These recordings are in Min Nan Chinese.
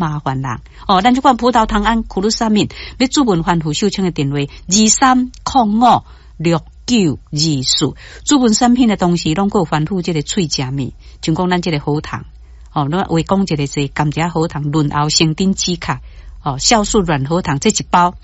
麻煩人哦，咱這款葡萄糖胺苦魯沙敏，欲諮問番婦秀清的電話23056924。諮問產品的同時，攏閣有番婦這个喙食物，像講咱這个喉糖哦，咱話講一个這甘蔗喉糖潤喉生津止渴哦，酵素軟喉糖，這一包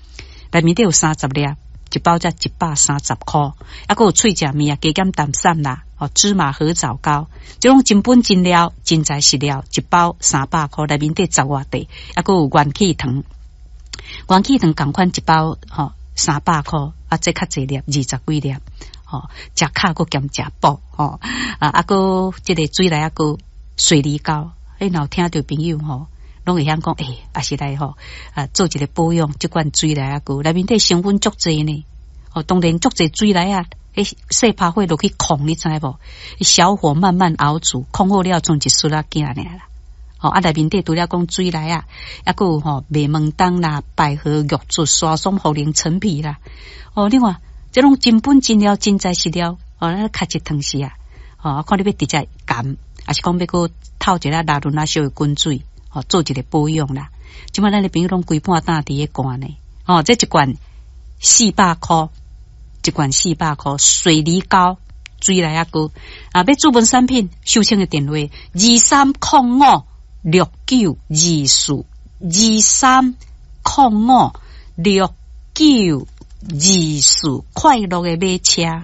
內面底有30粒，一包才130箍，啊，閣有喙食物啊，加減淡散啦，哦，芝麻核棗糕，這種真本真料、真材實料，一包300箍，內面底十外塊，啊，閣有元氣糖，元氣糖仝款一包吼300箍，啊，這較濟粒，20幾粒，吼，食巧閣兼食補，吼，啊，啊，閣這个水內仔膏、水梨膏，欸，若有聽著朋友吼，攏會曉講，欸，也是來吼，啊，做一个保養，這款水梨仔膏內面底成分足濟呢，哦，當然足濟水梨仔，欸，細拍火落去炕，你知無？小火慢慢熬煮，炕好了賰一匙仔囝爾啦。吼，啊，內面底除了講水梨仔，抑閣有吼麥門冬啦、百合、玉竹、沙松、茯苓、陳皮啦。哦，你看，這攏真本真料、真材實料。哦，咱較一湯匙啊，哦，看你欲直接含，抑是講欲閣透一下拉潤啊，燒的滾水，哦，做一个保養啦。這擺咱的朋友攏規半擔佇咧罐呢。哦，這一罐400箍。一罐400箍，水梨膏、水梨仔膏啊！欲諮問產品，秀清的電話23056924，23056924，快樂的馬車。